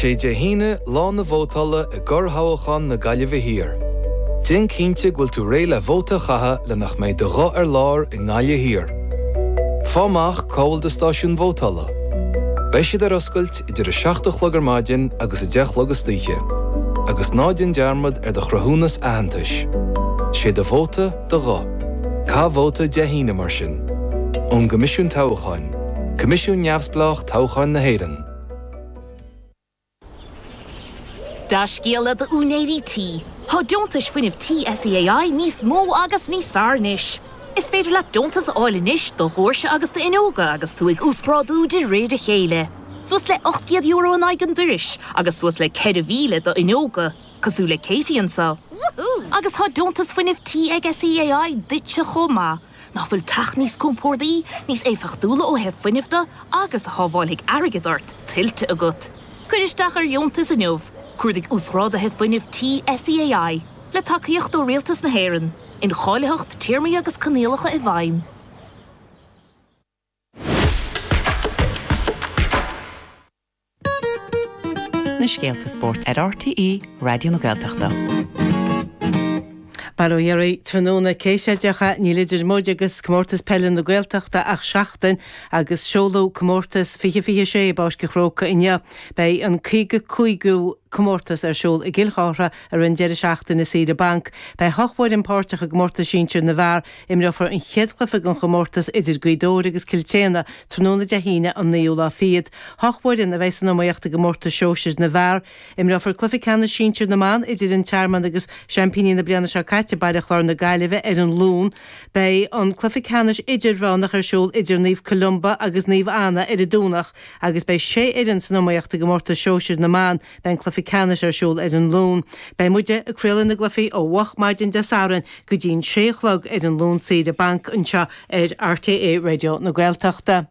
Sé Dé hAoine lá na vótála i gcorrthoghchán na Gaillimhe Thiar. Déan cinnte go bhfuil tú réidh le vóta a chaitheamh le nach mbeidh do ghuth ar lár i nGaillimh Thiar. Fáigh amach cá bhfuil do stáisiún vótála. Beidh siad ar oscailt idir 7 a chlog ar maidin agus 10 a chlog istoíche. Agus ná déan dearmad ar do chruthúnas aitheantais. Sé do vóta, do ghuth. Caith vóta Dé hAoine mar sin. Ón gCoimisiún Toghcháin, Coimisiún Neamhspleách Toghcháin na hÉireann. Dea-scéala d'úinéirí tí, tá deontais fuinnimh tí SEAI níos mó agus níos fearr anois. Is féidir leat deontas a fháil anois do dhoirse agus d'fhuinneoga agus tú ag uasghrádú de réir a chéile. Suas le €800 in aghaidh an dorais agus suas le 4,000 d'fhuinneoga, cosúil le Katie anseo. Agus tá deontas fuinnimh tí ag SEAI duitse chomh maith. Nach bhfuil teach níos compordaí, níos éifeachtúla ó thaobh fuinnimh de agus a shábháilfidh airgead ort, tuillte agat? Cuir isteach ar dheontas inniu! Cuardaigh Uasghráduithe Fuinnimh Tí SEAI, le tacaíocht ó Rialtas na hÉireann. Incháilitheacht, téarmaí agus coinníollacha i bhfeidhm. Na scéalta spóirt ar RTÉ Raidió na Gaeltachta. Bail ó Dhia oraibh tráthnóna cé sé déarfá, níl idir muid agus Comórtas Peile na Gaeltachta ach seachtain agus seoladh Comórtas 2026 i bPáirc an Chrócaigh inniu. Beidh an 55ú comórtas ar siúl i gCill Chartha i rith an deireadh seachtaine saoire banc. Beidh hocht bhfoireann páirteach i gcomórtas sinsir na bhfear. Imreofar an chéad chluiche den chomórtas idir Gaoth Dobhair agus Cill tSéadhna tráthnóna Dé hAoine an naoú lá fichead. Hocht bhfoireann a bheidh san iomaíocht i gcomórtas sóisir na bhfear. Imreofar cluiche ceannais sinsir na mban idir an Tearmann agus seaimpíní na bliana seo caite, Baile Chláir na Gaillimhe, ar an Luan. Beidh an cluiche ceannais idirmheánach ar siúl idir Naomh Columba agus Naomh Anna ar an Domhnach agus beidh sé fhoireann san iomaíocht i gcomórtas sóisir na mban. Beidh an cluiche ceannais ar siúl ar an Luan. Beidh muide ag craoladh na gcluichí ó mhoch maidin Dé Sathairn go dtí'n sé a chlog ar an Luan saoire banc anseo ar RTÉ Raidió na Gaeltachta.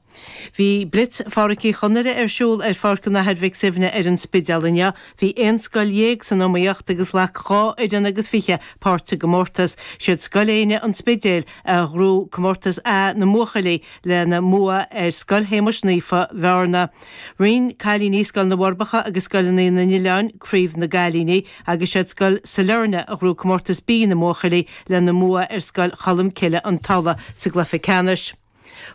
Bhí Blitz Phádraic Uí Chonaire ar siúl ar Pháirc an Athar Mhic Suibhne ar an Spidéal inniu. Bhí aon scoil dhéag san iomaíocht agus ghlac 2 fhoireann agus 20 páirt sa gcomórtas. Siad Scoil Éinne, An Spidéal, a ghnóthaigh Comórtas A na mbuachaillí lena mbua ar Scoil Shéamuis Naofa, Bhearna. Roinn cailíní Scoil na bhForbacha agus Scoileanna na nOileán Craobh na gCailíní agus siad Scoil Sailearna a ghnóthaigh Comórtas B na mbuachaillí lena mbua ar Scoil Cholmcille, An Tulaigh sa gcluiche ceannais.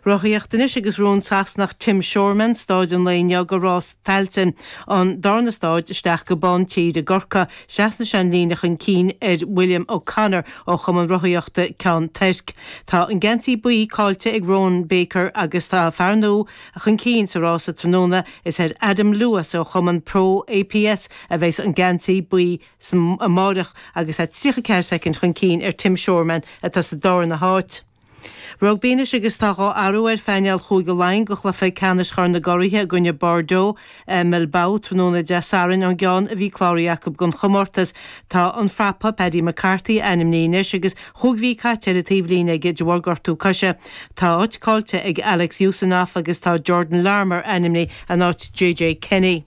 Rothaíocht anois agus ghnóthaigh an Sasanach Tim Shoreman staid an lae inniu de rás Tailteann, an darna staid isteach go Bán Tír i gCorcaigh. Thrasnaigh sé an líne chun cinn ar William O'Connor ó Chumann Rothaíochta Ceann Toirc. Tá an geansaí buí caillte ag Rowan Baker agus tá fear nua chun cinn sa rása tráthnóna. Is ar Adam Lewis ó chumann Pro APS a bheas an geansaí buí amáireach agus é 34 soicind chun cinn ar Tim Shoreman atá sa darna háit. Rugbaí anois agus tá dhá athrú ar phainéal Chúige Laighean do chluiche ceannais Chorn na gCuraithe i gcoinne Bordeaux i mBilbao tráthnóna Dé Sathairn ón gceann a bhí cláraithe acu don chomórtas. Tá an prapa Paddy McCarthy ainmnithe anois agus chúig mhí caite ar an taobhlíne aige de bharr gortú coise. Tá áit caillte ag Alex Usanov agus tá Jordan Larmour ainmnithe in áit JJ Kenny.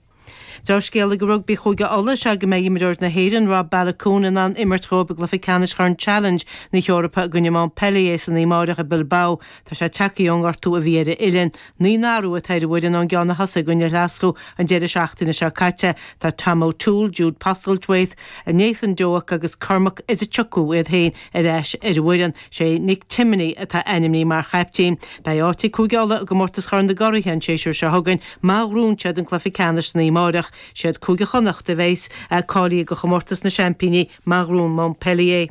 Deá-scéala do rugbaí Chúige Uladh is ea go mbeidh imreoir na hÉireann Rob Baloucoune in ann imirt dhóibh i gcluiche ceannais Chorn Challenge na hEorpa i gcoinne Montpellier san oíche amárach i Bilbao. Tá sé tagtha ón ngortú a bhí ar a uillinn. Naoi n-athrú atá ar an bhfoireann ón gceann a thosaigh i gcoinne Ghlaschú an deireadh seachtaine seo caite. Tá Tom O'Toole, Jude Postlethwaite, Nathan Doak agus Cormac Izuchukwu iad féin ar ais ar an bhfoireann. Sé Nick Timoney atá ainmnithe mar chaiptín. Beidh áit ag Cúige Uladh i gcomórtas Chorn na gCuraithe an séasúr seo chugainn má ghnóthaíonn siad an cluiche ceannais san oíche amárach. Siad Cúige Chonnacht a bheas cáilithe do chomórtas na seaimpíní má ghnóthaíonn Montpellier.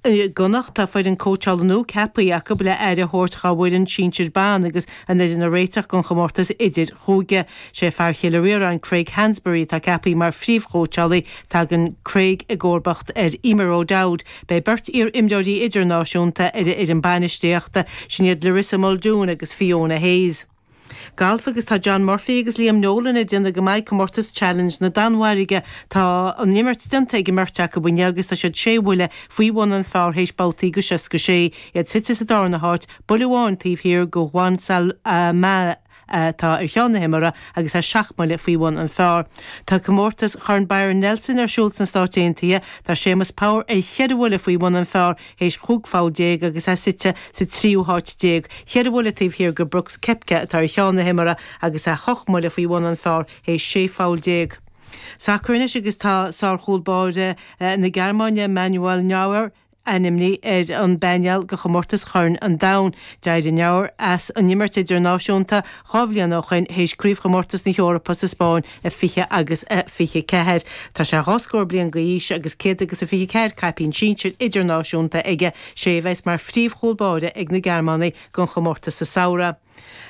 I gConnacht tá foireann cóitseála nua ceaptha acu le aire a thabhairt dhá bhfoireann sinsir ban agus an fhoireann a réiteach don chomórtas idir-chúige. Sé fear Chill Ríoráin Craig Hansberry atá ceaptha mar phríomhchóitseálaí. Tagann Craig i gcomharbacht ar Emer O'Dowd. Beidh beirt iar-imreoirí idirnáisiúnta ar an fhoireann bainistíochta, sin iad Larissa Muldoon agus Fiona Hayes. Galf agus tá John Murphy agus Liam Nolan ag déanamh go maith i gcomórtas Challenge na Danmhairge. Tá an imirt déanta ag an mbeirt acu inniu agus tá siad sé bhuille faoi bhun an phar théis babhtaí go 66. Iad suite sa darna háit, buille amháin taobh thiar go Juan Salama. atá ar cheann na himeartha agus é seacht mbuille faoi bhun an phar. Tá comórtas Chorn Byron Nelson ar siúl sna Stáit Aontaithe. Tá Séamus Power ar cheithre bhuille faoi bhun an phar théis chúig pholl déag agus é suite sa tríú háit déag, cheithre bhuille taobh thiar go Brooks Koepka atá ar cheann na himeartha agus é hocht mbuille faoi bhun an phar théis sé pholl déag. Sacar anois agus tá sár-chúl báire na Gearmáine, Manuel Neuer, ainmnithe ar an bpainéal do chomórtas Chorn an Domhain. D'éirigh Neuer as an imirt idirnáisiúnta 2 bhliain ó shoin théis Craobhchomórtas na hEorpa sa Spáinn i 20 agus 24. Tá sé dhá scór bliain d'aois agus 124 caipín sinsir idirnáisiúnta aige. Sé a bheas mar phríomh-chúl báire ag na Gearmánaigh don chomórtas sa samhradh.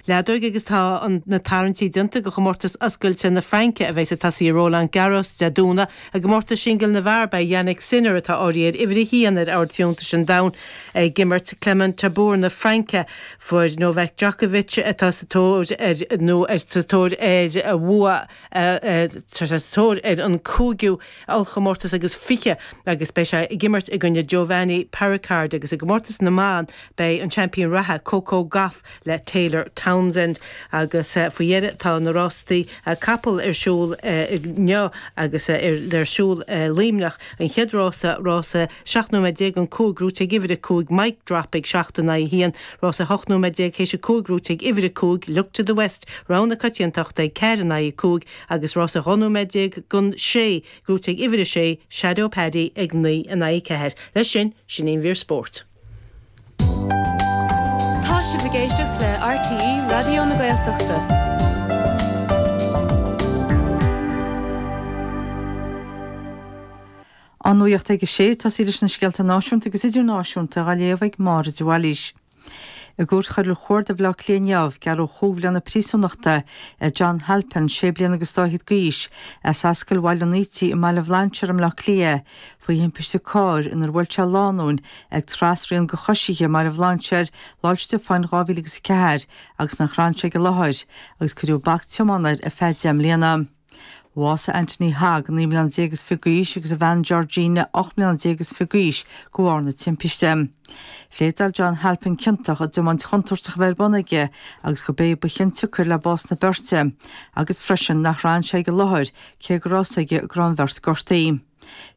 Leadóg agus tá na tarraingtí déanta do chomórtas oscailte na Fraince a bheas ag tosaí i Roland Garros Dé Domhnaigh. I gcomórtas singil na bhfear beidh Jannik Sinner, atá áirithe ar uimhir a haon ar ord fiúntais an domhain, ag imirt Clement Tabor na Fraince. Fuair Novak Djokovic, atá sa tóir ar nó sa tóir ar bhua, tá sé sa tóir ar an cúigiú ollchomórtas agus 20 agus beidh sé ag imirt i gcoinne Giovanni Perricard agus i gcomórtas na mban beidh an seaimpín reatha Coco Gauff le Taylor Townsend agus faoi dheireadh tá na rástaí capall ar siúl inniu agus ar siúl i Luimneach. An chéad rása, rása 17 nóiméad don 5 gnóite ag uimhir 5 Mic Drop ag 7 in aghaidh 1, rása 18 nóiméad théis 5 gnóite ag uimhir 5 Look to the West, rogha na coitiantachta ag 4 in aghaidh 5 agus rása 12 nóiméad don 6 gnóite ag uimhir 6 Shadow Paddy ag 9 in aghaidh 4. Leis sin, sin í an mhír spóirt. Tá sibh ag éisteacht le RTÉ Raidió na Gaeltachta. An nuacht ag a sé, tosaí leis na scéalta náisiúnta agus idirnáisiúnta á léamh ag Máire de Bhailís. I gCúirt Choiriúil Chuarda Bhaile Átha Cliath inniu, gearradh chúig bhliana príosúnachta ar John Halpin, sé bliana agus dá fhichead d'aois, as Ascaill Bhaile an Ítigh i mBaile Bhlainséir i mBleá Cliath, faoi thimpiste cairr inar bhuail sé lánúin ag trasrian do choisithe i mBaile Bhlainséir Lá 'le Stiofáin 2004 agus nach raibh sé ag an láthair, agus cuireadh bac tiomána air ar feadh 10 mbliana. Bhásaigh Anthony Hogg, 19 mbliana is fiche d'aois, agus a bhean Georgina, 18 mbliana is fiche d'aois, de bharr na timpiste. Phléadáil John Halpin ciontach i dtiomáint chontúirteach a bheith ar bun aige agus gurb é ba chionsiocair le bás na beirte, agus freisin nach raibh sé ag an láthair cé go raibh a fhios aige go raibh an bheirt gortaithe.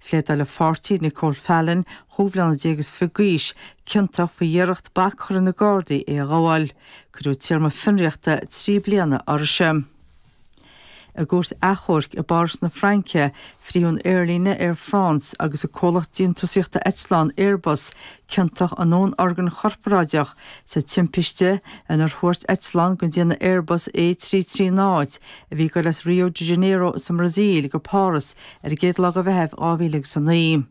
Phléadáil a pháirtí, Nicole Fallon, 25 bliana d'aois, ciontach faoi iarracht bac a chur ar na Gardaí é a ghabháil. Cuireadh téarma fionraíochta 3 bliana uirthise. I gcúirt achomhairc i bPáras na Fraince, frítheadh an aerlíne Air France agus an comhlacht déantúsaíochta eitleán Airbus ciontach in dúnorgain chorparáideach sa timpiste inar thuairt eitleán den déanamh Airbus A330 a bhí ag dul as Rio de Janeiro sa mBrasaíl go Páras ar an gcéad lá de Mheitheamh 2009.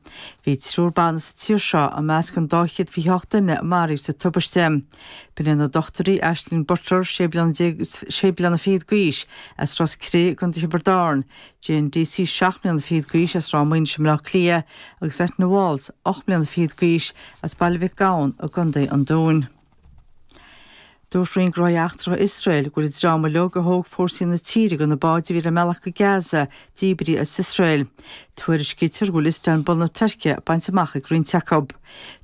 Bhí triúr ban as an tír seo i measc an 228 duine a maraíodh sa tubaiste. B'in iad na dochtúirí Ashling Butler, 16 bliana sé bliana fichead d'aois, as Ros Cré i gContae Thiobraid Árann, Jane Deasy, 7 mbliana fichead d'aois, as Ráth Maoinis i mBleá Cliath, agus Eithne Walls, 8 mbliana fichead d'aois, as Baile Mhic Gabhann i gContae an Dúin. Dúirt Roinn Gnóthaí Eachtracha Iosrael go bhfuil an dream uilig a thóg fórsaí na tíre de na báid a bhí ar a mbealach go Gaza díbrithe as Iosrael. Tuairiscítear go bhfuil Istanbul na Tuirce bainte amach ag roinnt acu.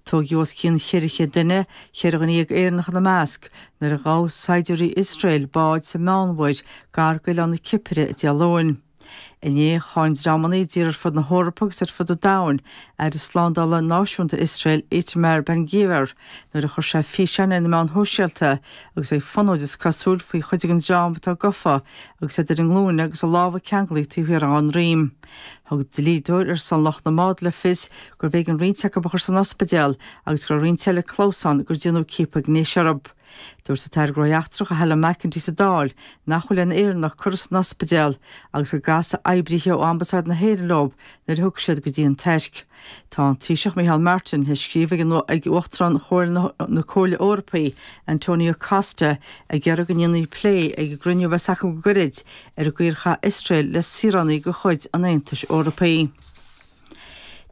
Tóigeadh os cionn 400 duine, 14 dhuine Éireannach ina measc, nuair a ghabh saighdiúirí Iosrael bád sa Meánmhuir gar d'oileán na Cipire Dé Luain. Inné, cháin dreamanna i dtíortha ar fud na hEorpa agus ar fud an domhain Aire Slándála Náisiúnta Iosrael Itamar Ben-Gvir nuair a chuir sé físeán ar na meáin shóisialta agus é ag fonóid is cosúil faoi chuid den dream atá gafa agus iad ar a nglúine agus a lámha ceanglaithe taobh thiar dá ndroim. Thug dlíodóir ar son lucht na mbád le fios gurbh éigean roinnt acu a chur san ospidéal agus go raibh roinnt eile clamhsán gur déanadh ciapadh gnéis orthu. Dúirt an tAire Gnóthaí Eachtracha Helen McEntee sa Dáil nach bhfuil aon Éireannach curtha san ospidéal agus go gcasfaidh oibrithe ó Ambasáid na hÉireann leo nuair a thiocfaidh siad go dtí an Tuirc. Tá an Taoiseach Micheál Martin théis scríobh ag Uachtarán Chomhairle na Comhairle Eorpaí, Antonio Costa, ag iarraidh go ndéanfaí plé ag an gcruinniú a bheas acu go gairid ar an gcaoi ar chaith Iosrael le saoránaigh de chuid an Aontais Eorpaigh.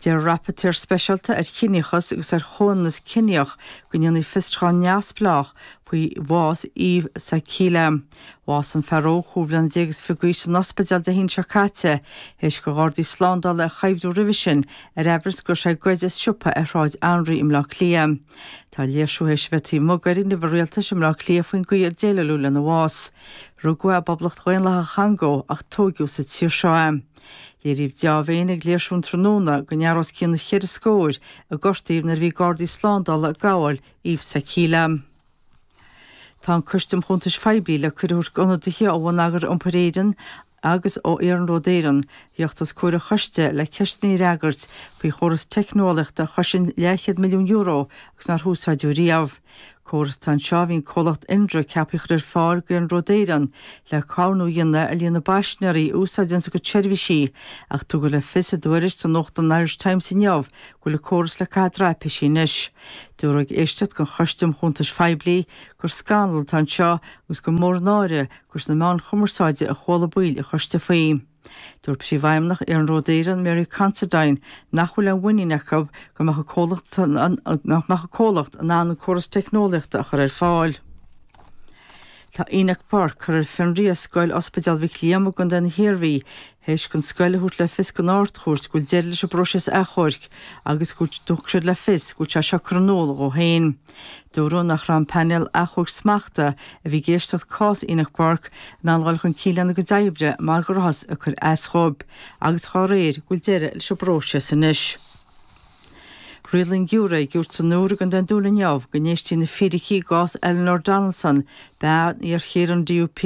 Deir Rapaitéir Speisialta ar Chiníochas agus ar Chomhionannas Ciníoch go ndéanfaí fiosrúchán neamhspleách faoi bhás Yves Sakila. Bhásaigh an fear óg chúig bhliana déag is fiche d'aois san ospidéal Dé haoine seo caite, théis do ghardaí slándála é a chuibhriú roimhe sin ar aimhreas go raibh sé ag goid as siopa ar Shráid Anraí i mBleá Cliath. Tá léirsiú théis a bheith taobh amuigh d'fhoirgneamh an rialtais i mBleá Cliath faoin gcaoi ar déileáladh lena bhás. Rugadh é i bPoblacht Dhaonlathach an Chongó ach tóigeadh sa tír seo é. Léiríodh dea-mhéin ag léirsiú an tráthnóna go ndearnadh os cionn cheithre scór a gortaíodh nuair a bhí gardaí slándála ag gabháil Yves Sakila. Tá an Coiste um Chuntais Phoiblí le cuireadh a thabhairt d'ionadaithe ó Bhonneagar Iompair Éireann. agus ó Iarnród Éireann a theacht os comhair an choiste le ceisteanna a fhreagairt faoi chóras teicneolaíochta a chosain leathchéad milliún euro agus nár húsáideadh riamh. Córas atá anseo a bhí an comhlacht Indra ceaptha a chur ar fáil d'Iarnród Éireann le caomhnú a dhéanamh ar líon na bpaisinéirí a úsáideanns a gcuid seirbhísí ach tugadh le fios i dtuairisc sa nuachtán an Irish Times inniu go bhfuil an córas le caitheamh i dtraipisí anois. Dúradh ag éisteacht den Choiste um Chuntais Phoiblí gur scannal atá anseo agus gur mór an náire gur sna meáin chumarsáide a chuala baill an choiste faoi. Dúirt Príomhfheidhmeannach Iarnród Éireann, Mary Considine, nach bhfuil aon mhuinín acu go mbeadh an comhlacht nach mbeadh an comhlacht in ann an córas teicneolaíochta a chur ar fáil. Tá Enoch Burke curtha ar fionraí as Scoil Ospidéal Mhic Liam i gContae na hIarmhí théis don scoil a thabhairt le fios don Ard-Chúirt go bhfuil deireadh leis an bpróiseas achomhairc agus go dtug siad le fios go bhfuil sé seo curtha in iúl dhó féin. Dúradh nach raibh an painéal achomhairc smachta a bhí ag éisteacht cás Enoch Burke in ann dul chun cinn lena gcuid oibre mar go rabhthas ag cur as dhóibh agus dhá réir go bhfuil deireadh leis an bpróiseas anois. Rialaigh an giúiré i gCúirt an Iúir i gContae an Dúin inniu go n-éistfí na fíricí i gcás Eleanor Donaldson, bean iarchéile an DUP,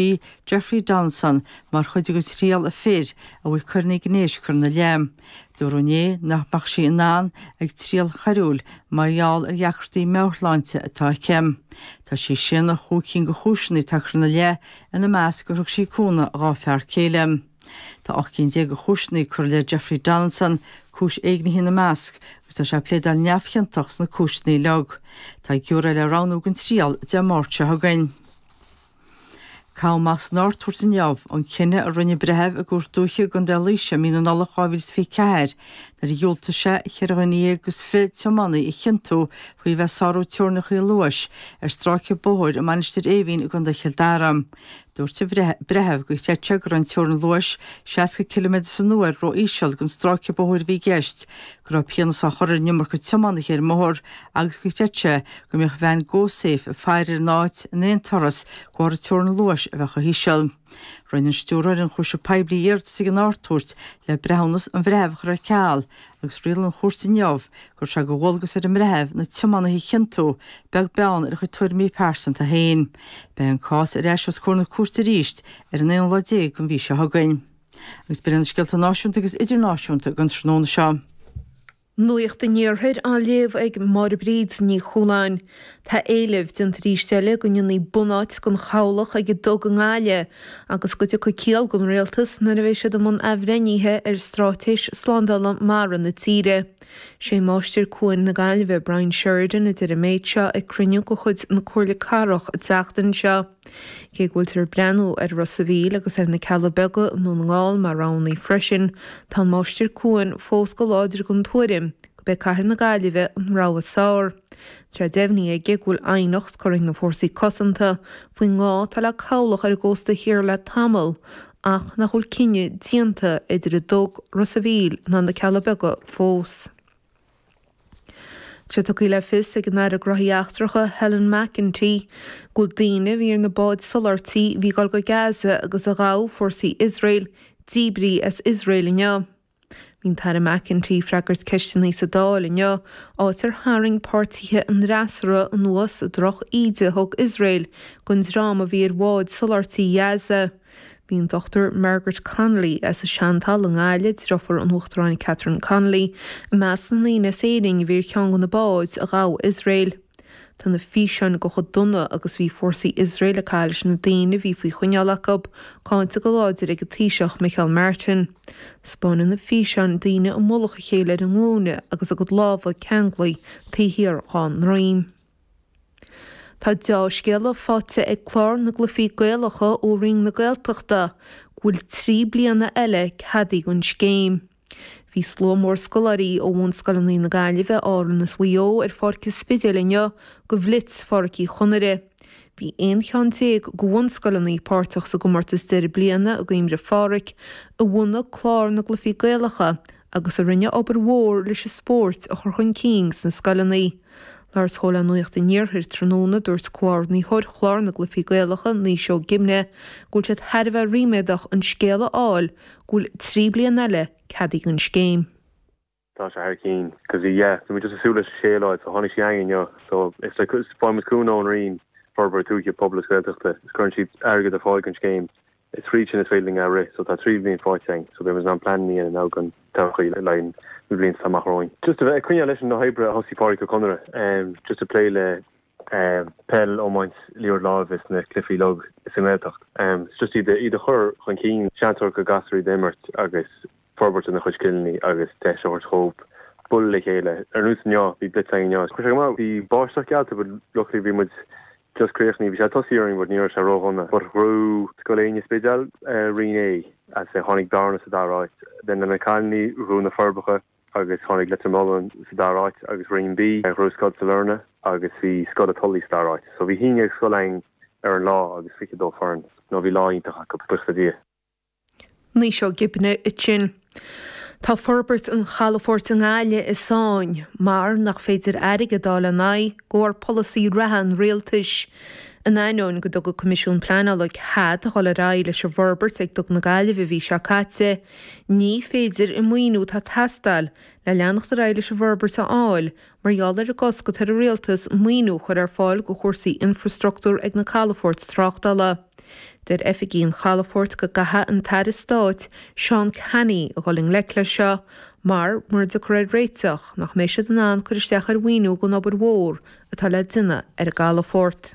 Jeffrey Donaldson, mar chuid de thriail a fir a bhfuil coireanna gnéis curtha ina leith. Dúradh inné nach mbeadh sí in ann ag triail choiriúil mar gheall ar dheacrachtaí meabhairshláinte atá aici. Tá sí ag séanadh chúig cinn de chúiseanna atá curtha ina leith, ina measc gur thug sí cúnamh dhá fear céile. Tá 18 cinn de chúiseanna curtha i leith Jeffrey Donaldson, cúis éignithe ina measc, agus tá sé ag pléadáil neamhchiontach sna cúiseanna uilig. Tá giúiré le roghnú don triail Dé Máirt seo chugainn. Caitheadh amach san Ard-Chúirt inniu an cinneadh a rinne breitheamh i gCúirt Dúiche i gContae Laoise i mí na Nollag 2024 nuair a dhiúltaigh sé cheithre dhuine dhéag is 20 tiománaí a chiontú faoi bheith ag sárú teorainneacha luais ar stráice bóthair i Mainistir Eimhín i gContae Chill Dara. Dúirt an breitheamh gur chreid sé go raibh an teorainn luais 60 ciliméadar san uair ró-íseal don stráice bóthair a bhí i gceist, go raibh pionós á chur ar an iomarca tiománaithe ar an mbóthar agus gur chreid sé go mbeadh veain GoSafe ag faire ar an áit in aon turas de bharr an teorainn luais a bheith chomh híseal. Rinne an Stiúrthóir Ionchúiseamh Poiblí iarratas ag an Ard-Chúirt le breithiúnas an bhreithimh a chur ar ceal agus rialaigh an chúirt inniu go raibh sé de dhualgas ar an mbreitheamh na tiománaithe a chiontú, beag beann ar a chuid tuairimí pearsanta féin. Beidh an cás ar ais os comhair na cúirte arís ar an aonú lá déag den mhí seo chugainn. Agus b'in iad na scéalta náisiúnta agus idirnáisiúnta don tráthnóna seo. Nuacht an Iarthair á léamh ag Máire Bríd Ní Chualáin. Tá éileamh déanta arís eile go ndéanfaí bunáit den chabhlach ag an dTug i nGaillimh agus go dtiocfaidh ciall don rialtas nuair a bheidh siad i mbun athbhreithnithe ar straitéis slándála mara na tíre. Sé Máistir Cuain na Gaillimhe, Brian Sheridan, a deir an méid seo ag cruinniú de chuid na Comhairle Cathrach an tseachtain seo. Cé go bhfuiltear ag breathnú ar Ros a' Mhíl agus ar na Cealla Beaga i nDún na nGall mar roghanna freisin, tá an Máistir Cuain fós go láidir den tuairim gurb é Cathair na Gaillimhe an rogha is fearr. Tá sé deimhnithe aige go bhfuil aighneacht curtha ag na Fórsaí Cosanta faoin ngá atá le cabhlach ar an gcósta thiar le tamall ach nach bhfuil cinneadh déanta idir an dTug, Ros a' Mhíl ná na Cealla Beaga fós. Tá sé tugtha le fios ag an Aire Gnóthaí Eachtracha Helen McEntee go bhfuil daoine a bhí ar na báid soláthairtí a bhí ag dul go Gaza agus a ghabh fórsaí Iosrael díbrithe as Iosrael inniu. Bhí an tAire McEntee ag freagairt ceisteanna sa Dáil inniu, áit ar tharraing páirtithe an fhreasúra anuas droch-íde a thug Iosrael don dream a bhí ar bháid soláthairtí Ghaza. Bhí an Dr Margaret Connolly as an Seantalamh i nGaillimh, deirfiúr an Uachtaráin Catherine Connolly, i measc na ndaoine as Éirinn a bhí ar cheann de na báid a ghabh Iosrael. Tá na físeáin de chomh dona agus bhí fórsaí Iosrael ag caitheamh leis na daoine a bhí faoi choinneáil acu, cáinte go láidir ag an Taoiseach Micheál Martin. 'Spáineann na físeáin daoine i mullach a chéile ar a nglúine agus a gcuid lámha ceanglaithe taobh thiar dhá ndroim. Tá deá-scéala faighte ag Clár na gCluichí Gaelacha ó Roinn na Gaeltachta go bhfuil 3 bliana eile ceadaithe don scéim. Bhí slua mór scoláirí ó bhunscoileanna na Gaillimhe, Árann is Mhaigh Eo ar Pháirc an Spidéil inniu do Bhlitz Phádraic Uí Chonaire. Bhí 11 cheann de bhunscoileanna páirteach sa gcomórtas deireadh bliana i gcuimhne ar Phádhraic, a bhunaigh Clár na gCluichí Gaelacha agus a rinne obair mhór leis an spórt a chur chun cinn sna scoileanna. Labhairt dhó le Nuacht an Iarthair tráthnóna, dúirt Comhordaitheoir Chlár na gCluichí Gaelacha, Naoise Ó Gimne, go bhfuil siad thar a bheith ríméadach an scéal a fháil go bhfuil 3 bliana eile ceadaithe don scéim. Tá sé thar cinn cause yeah bhí muid just ag súil leis an scéal a fháil so tháinig sí againn inniu so it's like faigheann muid cúnamh ón Roinn Forbartha Tuaithe, Pobail is Gaeltachta is cuireann siad airgead ar fáil don scéim. Is fríd sin is féidir linn a rith so tá 3 bhliain faighte againn so beidh muid in ann plean a dhéanamh now don todhchaí le haghaidh na blianta atá amach romhainn. Just a bheith ag coinneáil leis na hoibre a thosaigh Pádraic Ó Conaire, just ag plé le peil, iomáint, liathróid láimhe is na cluichí uilig sa nGaeltacht. It's just iad iad a chur chun cinn, seans a thabhairt do ghasúir iad a imirt agus forbairt ina chuid scileanna agus deis a thabhairt dhóibh bualadh le chéile. Ar nós inniu, bhí blitz againn inniu. Chuir sé go maith. Bhí báisteach geallta but luckily bhí muid just críochnaithe. Bhí sé ag tosaí orainn but ní raibh sé ródhona. But ghnóthaigh Scoil Éinne Spidéal Roinn A as tháinig Bearna sa dara háit. Then le na cailíní ghnóthaigh na Forbacha agus tháinig Leitir Mealláin sa dara háit agus Roinn B ghnóthaigh Scoil Sailearna agus bhí Scoil a' Tulaigh sa dara háit. So bhí 11 scoil againn ar an lá agus 22 foireann. No bhí lá iontach acu, buíochas le Dia. Naoise Ó Gibne ansin. Tá forbairt an chalafoirt i nGaillimh i sáinn mar nach féidir airgead a fháil lena aghaidh de bharr polasaí reatha an rialtais. In ainneoin go dtug an Coimisiún Pleanála cead a dhul ar aghaidh leis an bhforbairt ag Duga na Gaillimhe an mhí seo caite, ní féidir an maoiniú atá ag teastáil le leanacht ar aghaidh leis an bhforbairt a fháil Mar gheall ar an gcosc atá ar an Rialtas maoiniú a chur ar fáil do chúrsaí infreastruchtúr ag na calafoirt tráchtála. Deir oifigigh an chalafoirt go gcaithfidh an tAire Stáit Seán Canney a dhul i ngleic leis seo mar, mura dtiocfar ar réiteach, nach mbeidh siad in ann cur isteach ar mhaoiniú don obair mhór atá le déanamh ar an gcalafort.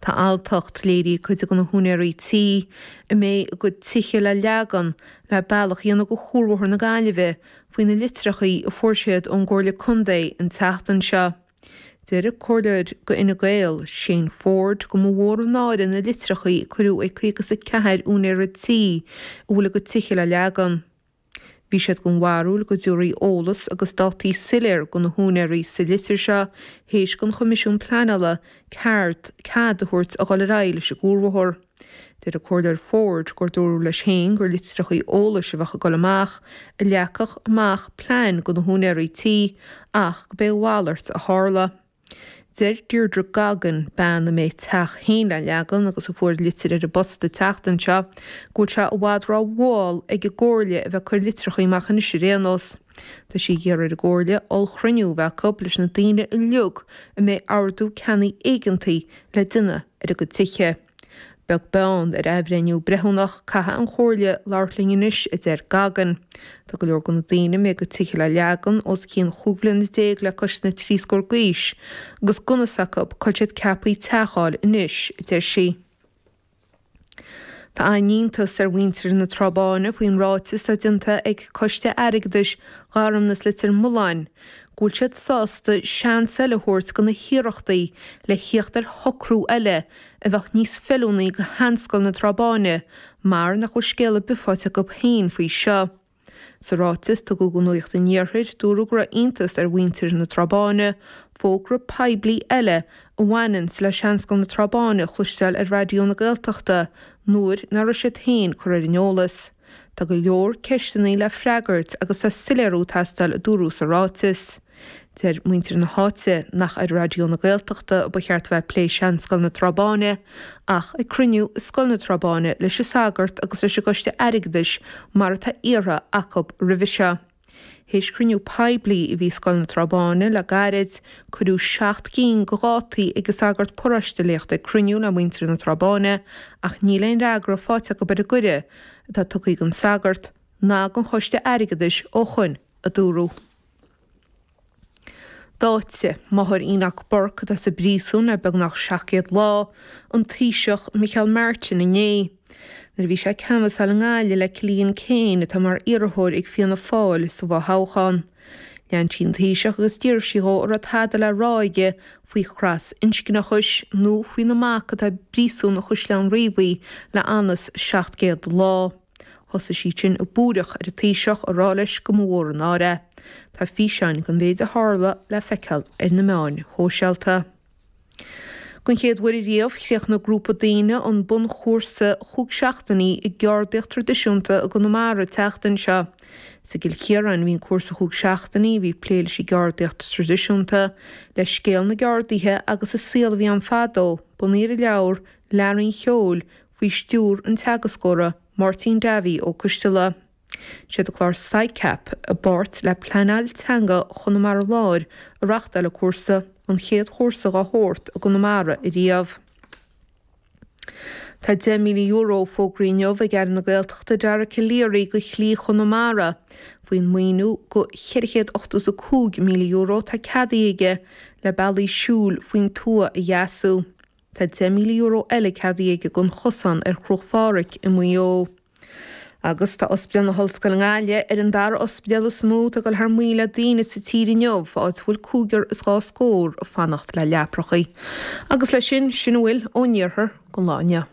Tá alltacht léirithe ag cuid de na húinéirí tí a mbeidh a gcuid tithe le leagan le bealach a dhéanamh do Chuarbhóthar na Gaillimhe faoi na litreachaí a fuair siad ón gComhairle Contae an tseachtain seo. Deir an Comhairleoir do Fhine Gael, Shane Forde go mba mhór an náire na litreachaí a cuireadh ag 54 úinéara tí a bhfuil a gcuid tithe le leagan. Bhí siad den bharúil go dtabharfaí eolas agus dátaí soiléir do na húinéirí sa litir seo théis don Choimisiún Pleanála cead a thabhairt a dhul ar aghaidh leis an gcuarbhóthar. Deir an Comhairleoir Forde gur dúradh leis féin gur litreachaí eolais a bheadh ag dul amach a leagfadh amach plean do na húinéirí tí ach go b'é a mhalairt a tharla. Deir Deirdre Goggin, bean a mbeidh a teach féin le leagan agus a fuair litir ar an bpost an tseachtain seo, go bhfuil sé i bhfad ró-mhall ag an gComhairle a bheith ag cur litreachaí amach anois ar aon nós. Tá sí ag iarraidh ar an gComhairle ollchruinniú a bheith acu leis na daoine uilig a mbeidh ordú ceannaigh éigeantaigh le déanamh ar a gcuid tithe. Beag beann ar athbhreithniú breithiúnach, caithfidh an Chomhairle labhairt linn anois, a deir Goggin. Tá go leor de na daoine a mbeidh a gcuid tithe le leagan os cionn 15 bliana le cois na dtrí scór d'aois, agus gan fhios acu cá bhfuil siad ceaptha teach a fháil anois, a deir sí. Tá an-iontas ar mhuintir na Trá Báine faoin ráiteas atá déanta ag Coiste Airgeadais Gharmnas Leitir Mealláin go bhfuil siad sásta seans eile a thabhairt do na hiarrachtaí le thíocht ar shocrú eile a bheadh níos feiliúnaí do Sheanscoil na Trá Báine mar nach bhfuil scéal ar bith faighte acu féin faoi seo. Sa ráiteas a tugadh do Nuacht an Iarthair, dúradh go raibh iontas ar mhuintir na Trá Báine fógra poiblí eile a bhaineanns le Seanscoil na Trá Báine a chloisteáil ar Raidió na Gaeltachta nuair nach raibh siad féin curtha ar an eolas. Tá go leor ceisteanna le freagairt agus tá soiléiriú ag teastáil a dúradh sa ráiteas. Deir muintir na háite nach ar Raidió na Gaeltachta a ba cheart a bheith ag plé Seanscoil na Trá Báine ach ag cruinniú i Scoil na Trá Báine leis an sagart agus leis an gcoiste airgeadais mar atá iarrtha acu roimhe seo. Théis cruinniú poiblí a bhí i Scoil na Trá Báine le gairid, cuireadh 7 gcinn de dhátaí ag an sagart paróiste le theacht ag cruinniú le muintir na Trá Báine ach níl aon fhreagra faighte acu ar an gcuireadh atá tugtha don sagart ná don choiste airgeadais ó shoin, a dúradh. D'áitigh máthair Enoch Burke, atá sa bpríosún le beagnach 700 lá, an Taoiseach Micheál Martin inné. Nuair a bhí sé ag canbhasáil i nGaillimh le Cillian Keane, atá mar iarrthóir ag Fianna Fáil sa bhfothoghchán. Lean sí an Taoiseach agus d'iarr sí dhó an raibh tada le rá aige faoi thras-inscneachais nó faoina mac atá i bpríosún Chaisleán Riabhaigh le anuas 700 lá. Thosaigh sí ansin ag búireach ar an Taoiseach ag rá leis go mba mhór an náire é. Tá físeáin den mhéid a tharla le feiceáil ar na meáin shóisialta. Den chéad uair ariamh, chríochnaigh grúpa daoine an bunchúrsa chúig seachtainí i gceardaíocht traidisiúnta i gConamara an tseachtain seo. Is i gCill Chiaráin a bhí an cúrsa chúig seachtainí a bhí ag plé leis an gceardaíocht traidisiúnta, le scéal na gceardaithe agus an saol a bhí ann fadó, bunaithe ar an leabhar Learaí an Cheoil faoi stiúr an teagascóra Máirtín Davy Ó Coisteala. Siad an clár SICAP, i bpáirt le Pleanáil Teanga Chonamara Láir a reachtáil an cúrsa, an chéad chúrsa dhá shórt i gConamara ariamh. Tá €10,000 fógraithe inniu ag Aire na Gaeltachta Dara Calleary do Shlí Chonamara faoin maoiniú de €485,000 atá ceadaithe aige le bealaí siúil faoin tuath a dheasú. Tá €10,000 eile ceadaithe aige don chosán ar Chruach Phádraig i Maigh Eo. Agus tá Ospidéal na hOllscoile i nGaillimh ar an dara ospidéal is mó atá ag dul thar maoil le daoine sa tír inniu, áit a bhfuil cúigear is dhá scór ag fanacht le leaprachaí. Agus leis sin, sin a bhfuil ón iarthar don lá inniu.